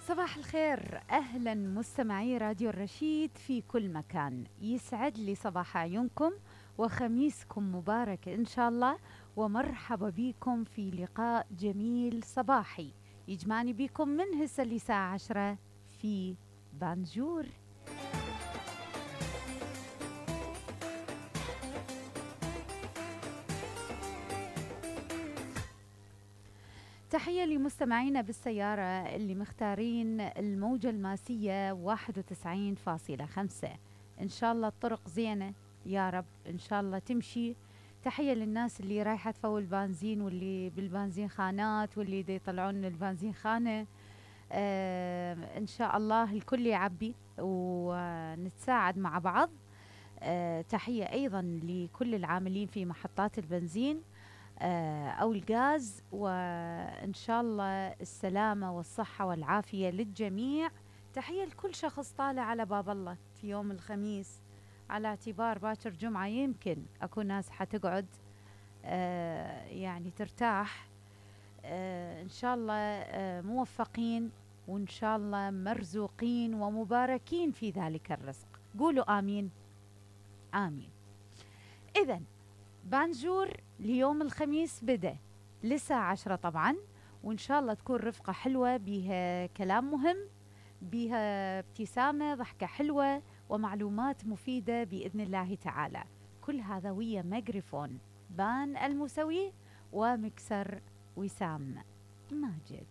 صباح الخير، أهلا مستمعي راديو الرشيد في كل مكان. يسعد لي صباح عيونكم وخميسكم مبارك إن شاء الله، ومرحبا بكم في لقاء جميل صباحي يجمعني بكم من هسه لساعة 10 في بانجور. تحية لمستمعينا بالسيارة اللي مختارين الموجة الماسية 91.5. إن شاء الله الطرق زينة يا رب، إن شاء الله تمشي. تحية للناس اللي رايحة تفول بنزين، واللي بالبنزين خانات، واللي دي يطلعون البنزين خانة. إن شاء الله الكل يعبي ونتساعد مع بعض. تحية أيضا لكل العاملين في محطات البنزين أو الغاز، وإن شاء الله السلامة والصحة والعافية للجميع. تحية لكل شخص طالع على باب الله في يوم الخميس، على اعتبار باكر جمعة يمكن أكون ناس حتقعد يعني ترتاح. إن شاء الله موفقين، وإن شاء الله مرزوقين ومباركين في ذلك الرزق. قولوا آمين آمين. إذن بانجور ليوم الخميس بدأ لساعة 10 طبعا، وإن شاء الله تكون رفقة حلوة بيها كلام مهم، بيها ابتسامة، ضحكة حلوة، ومعلومات مفيدة بإذن الله تعالى. كل هذا ويا ميكروفون بان المسوي ومكسر وسام ماجد.